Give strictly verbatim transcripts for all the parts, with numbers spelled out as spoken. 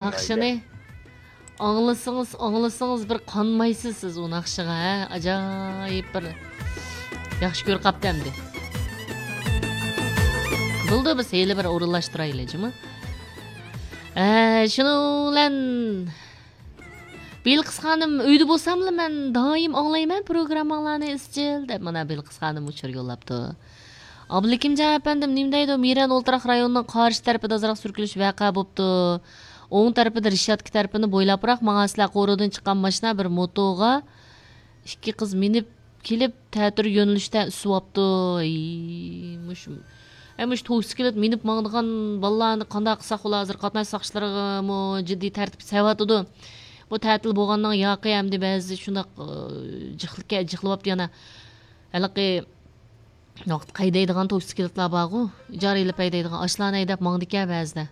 ناخشىنى ئاڭلىسىڭىز، ئاڭلىسىڭىز بىر قانمايسىز سىز ئۇ ناخشىغا، ھە؟ ئاجايىپ بىر ياخشى كۆرۈپ قاپتۇ ئەمدى. بولدى، بىز ھېلى بىر ئورۇنلاشتۇرايلى، جۇمۇ. ئە، شۇنىڭ بىلەن بىلقىس خانىم، ئۆيدە بولساملا مەن دائىم ئاڭلايمەن پروگرامماڭلارنى ئىزچىل، دەپ مانا بىلقىس خانىم ئۇچۇر يوللاپتۇ. ئابلىكىمجان ئەپەندىم نېمە دەيدۇ؟ مىرەن ئولتۇراق رايونىنىڭ قارشى تەرىپىدە ئازراق سۈركىلىش ۋەقە بوپتۇ. ئوڭ تەرىپىدە رېشاتكا تەرىپىنى بويلاپراق ماڭا سىلەر قورۇدىن چىققان ماشىنا بىر موتوغا ئىككى قىز مىنىپ كېلىپ، تەتۈر يۆنىلىشتە ئۈسۈۋاپتۇ. ئەي، مۇشۇ، ئەي، مۇشۇ توكسىكلىت مىنىپ ماڭىدىغان بالىلارنى قانداق قىلساق بولا؟ ھازىر قاتناش ساقچىلىرىمۇ جىددىي تەرتىپ سېلىۋاتىدۇ. بۇ تەتىل بولغاننىڭ ياقى ئەمدى بەزى شۇنداق، ئى، جىقلىكە-، جىقلىۋاپتۇ يەنە. ھېلىقى ۋاقىت ھەيدەيدىغان توكسىكلىتلار بارغۇ، ئىجارە ئېلىپ ھەيدەيدىغان، ئاشۇلارنى ھەيدەپ ماڭىدىكەن بەزىدە.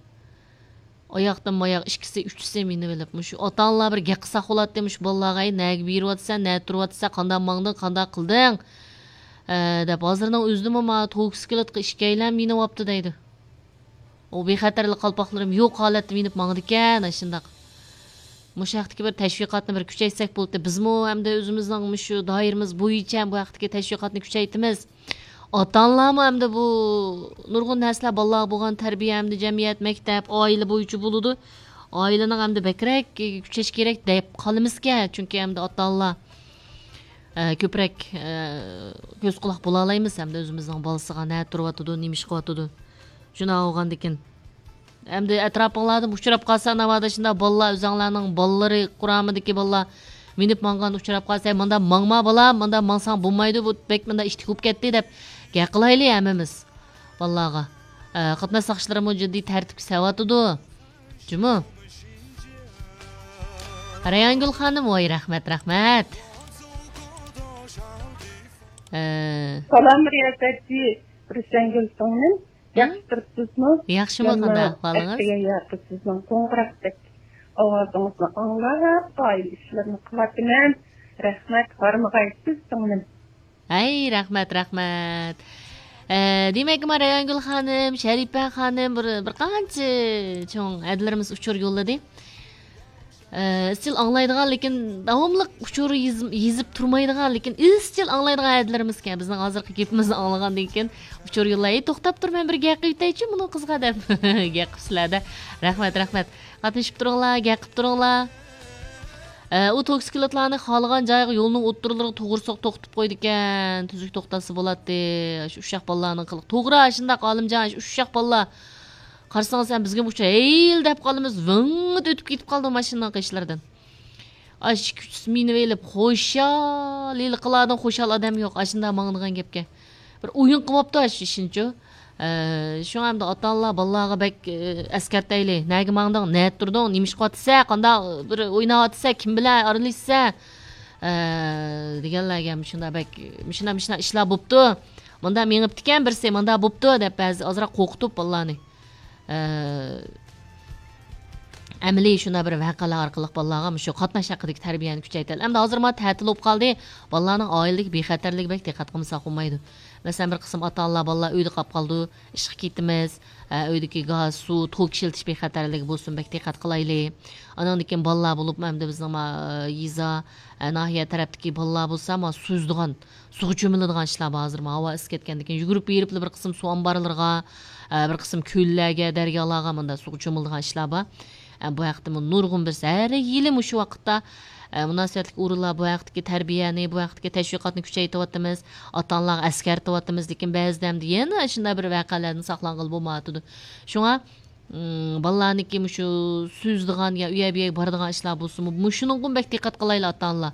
ئاياقتىن ماياق ئىككىسى، ئۈچىسى مىنىۋېلىپ، مۇشۇ ئاتا-ئانىلار بىر گەپ قىلساق بولاتتى، مۇشۇ بالىلارغا، «ئەي، نەگە بېرىۋاتىسەن، نەدە تۇرۇۋاتىسەن، قانداق ماڭدىڭ، قانداق قىلدىڭ؟» ئە، دەپ، ھازىرنىڭ ئۆزىدىمۇ مانا توكسىكلىتقا ئىككىيلەن مىنىۋاپتۇ دەيدۇ. ئۇ بىخەتەرلىك قالپاقلىرىم يوق ھالەتتە مىنىپ ماڭىدىكەن، ئاشۇنداق. مۇشۇ ھەقتىكى بىر تەشۋىقاتنى بىر كۈچەيتسەك بولاتتى. بىزمۇ ئەمدى ئۆزىمىزنىڭ مۇشۇ دائىرىمىز بويىچە بۇ ھەقتىكى تەشۋىقاتنى كۈچەيتىمىز. ئاتا-ئانىلارمۇ ئەمدى بۇ نۇرغۇن نەرسىلەر بالىلارغا بولغان تەربىيە، ئەمدى جەمئىيەت، مەكتەپ، ئائىلە بويىچە بولىدۇ. ئائىلىنىڭ ئەمدى بەكرەك كۈچەش كېرەك دەپ قالىمىزكەن. چۈنكى ئەمدى ئاتا-ئانىلار، ئە، كۆپرەك، ئە، كۆز-قۇلاق بولالايمىز ئەمدى ئۆزىمىزنىڭ بالىسىغا نەدە تۇرۇۋاتىدۇ، نېمە ئىش قىلىۋاتىدۇ. شۇنداق بولغاندىكىن. ئەمدى ئەتراپىڭلاردىمۇ ئۇچراپ قالسا، ناۋادا شۇنداق بالىلار، ئۆزۈڭلارنىڭ بالىلىرى قۇرامىدىكى بالىلار مىنىپ ماڭغان ئۇچراپ قالسا، «مۇنداق ماڭما بالام، مۇنداق ماڭساڭ بولمايدۇ، بۇ بەك مۇنداق ئىتتىك بولۇپ كەتتى» دەپ گەپ قىلايلى ھەممىمىز بالىلارغا. ئە، قاتناش ساقچىلىرىمۇ جىددىي تەرتىپكە سېلىۋاتىدۇ. جۇمۇ. رەيھانگۈل خانىم، ۋاي، رەھمەت، رەھمەت. ئە، سالام، رىياسەتچى رۇشەنگۈل سىڭلىم. ياخشى تۇرۇپسىزمۇ؟ ياخشىمۇ، قانداق ئەھۋالىڭىز؟ ئەتىگەن ياقى سىزنىڭ قوڭغۇراقتەك ئاۋازىڭىزنى ئاڭلاپ، ئائىلە ئىشلىرىنى قىلاتىمەن. رەھمەت، ھارمىغايسىز سىڭلىم. ھەي، رەھمەت، رەھمەت. ئە، دېمەك، ما رەيھانگۈل خانىم، شەرىپە خانىم، بىر، بىر قانچە چوڭ ھەدىلىرىمىز ئۇچۇر يوللىدى. ئە، ئىزچىل ئاڭلايدىغان، لېكىن داۋاملىق ئۇچۇر يېز-، يېزىپ تۇرمايدىغان، لېكىن ئىزچىل ئاڭلايدىغان ھەدىلىرىمىزكەن. بىزنىڭ ھازىرقى گېپىمىزنى ئاڭلىغاندىن كېيىن ئۇچۇر يوللاي، «توختاپ تۇر، مەن بىر گەپ قىلىۋېتەيچۇ بۇنىڭ قىزىغا» دەپ گەپ قىپسىلەر-دە. رەھمەت، رەھمەت. قاتنىشىپ تۇرۇڭلار، گەپ قىلىپ تۇرۇڭلار. ئە، ئۇ توكسىكلىتلارنى خالىغان جايغا يولنىڭ ئوتتۇرىلىرىغا توغرا سوق توختىتىپ قويىدىكەن. تۈزۈك توختاتسا بولاتتى. شۇ ئۇششاق بالىلارنىڭ قىلىق. توغرا، شۇنداق ئالىمجان، شۇ ئۇششاق بالىلار. قارىسىڭىز، سەن بىزگە ئۇچۇر ھەيل دەپ قالىمىز، ۋىڭ ئۆتۈپ كېتىپ قالىدۇ ماشىنىنىڭ قېشلىرىدىن. ئاشۇ ئىككى ئۈچ مىنىۋېلىپ، خۇشال، ھېلىقىلاردىن خۇشال ئادەم يوق، ئاشۇنداق ماڭىدىغان گەپكە. بىر ئويۇن قىلىۋاپتۇ ئاشۇ ئىشىنىچۇ. ئە، شۇڭا ئەمدى ئاتا-ئانىلار بالىلارغا بەك، ئە، ئەسكەرتەيلى. نەگە ماڭدىڭ، نەدە تۇردۇڭ، نېمە ئىش قىلىۋاتىسەن، قانداق بىر ئويناۋاتىسەن، كىم بىلەن ئارىلىشىسەن، ئە، دېگەنلەرگە مۇشۇنداق بەك، مۇشۇنداق، مۇشۇنداق ئىشلار بوپتۇ. مۇنداق مېڭىپتىكەن بىرسى، مۇنداق بوپتۇ دەپ بەزى ئازراق قورقۇتۇپ بالىلارنى. ئە، ئەمەلىي شۇنداق بىر ۋەقەلەر ئارقىلىق بالىلارغا مۇشۇ قاتناش ھەققىدىكى تەربىيەنى كۈچەيتەيلى. ئەمدى ھازىر مانا تەتىل بولۇپ قالدى. بالىلارنىڭ ئائىلىدىكى بىخەتەرلىكى بەك دىققەت قىلمىساق بولمايدۇ. مەسىلەن، بىر قىسىم ئاتا-ئانىلار بالىلار ئۆيدە قاپ قالىدۇ، ئىشقا كېتىمىز، ئە، ئۆيدىكى گاز، سۇ، توك ئىشلىتىش بىخەتەرلىكى بولسۇن، بەك دىققەت قىلايلى. ئانىڭدىن كېيىن بالىلار بولۇپمۇ ئەمدى بىزنىڭ ما-، يېزا، ئە، ناھىيە تەرەپتىكى بالىلار بولسا ما سۈزىدىغان، سۇغا چۆمۈلىدىغان ئىشلار بار ھازىر. ما ھاۋا ئىسسىپ كەتكەندىن كېيىن يۈگۈرۈپ بېرىپلا بىر قىسىم سۇ ئامبارلىرىغا، ئە، بىر قىسىم كۆللەرگە، دەريالارغا مۇنداق سۇغا چۆمۈلىدىغان ئىشلار بار. ئە، بۇ ھەقتىمۇ نۇرغۇن بىر ھەر يىلى مۇشۇ ۋاقىتتا، ئە، مۇناسىۋەتلىك ئورۇنلار بۇ ھەقتىكى تەربىيەنى، بۇ ھەقتىكى تەشۋىقاتنى كۈچەيتىۋاتىمىز، ئاتا-ئانىلارغا ئەسكەرتىۋاتىمىز، لېكىن بەزىدە ئەمدى يەنە شۇنداق بىر ۋەقەلەردىن ساقلانغىلى بولمايۋاتىدۇ. شۇڭا، ئىم، بالىلارنىڭكى مۇشۇ سۈزىدىغان يا ئۇ يەر بۇ يەرگە بارىدىغان ئىشلار بولسىمۇ، مۇشۇنىڭغىمۇ بەك دىققەت قىلايلى ئاتا-ئانىلار.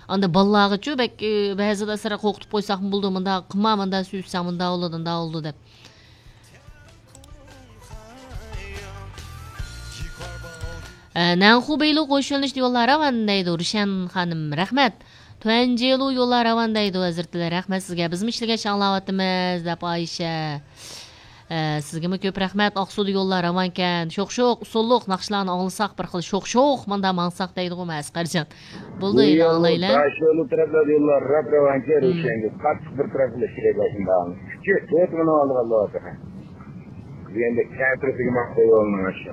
ئاندىن بالىلارغىچۇ بەك، ئى، بەزىدە سەل قورقۇتۇپ قويساقمۇ بولىدۇ، مۇنداق قىلما، مۇنداق سۈزسەڭ مۇنداق بولىدۇ، مۇنداق بولىدۇ دەپ. ئە، نەنخۇ بېيلۇ قوشۇلۇش يوللار راۋان دەيدۇ، رۇشەن خانىم، رەھمەت. تۇەنجېلۇ يوللار راۋان دەيدۇ، ھەزرىتىلەر، رەھمەت سىزگە. بىزمۇ ئىشلىگەچ ئاڭلاۋاتىمىز، دەپ ئايشە. ئە، سىزگىمۇ كۆپ رەھمەت. ئاقسۇدا يوللار راۋانكەن. شوخ-شوخ، ئۇسسۇللۇق، ناخشىلارنى ئاڭلىساق، بىر خىل شوخ-شوخ، مۇنداق ماڭساق دەيدىغۇ، مە ئەسقەرجان. بولدى، بۇ ئەينى يول ئاڭلايلى. داشيولى تەرەپلەردە يوللار راپ راۋانكەن، مم. رۇشەنگە قاتتىق بىر تەرەپلەر كېلىدۇ شۇنداق. كۈچى تۆت مىنىڭ ئالدىغا بولىدۇ. بۇ يەردە كەترىسىگە ماڭسا يولنىڭ ئاشۇ.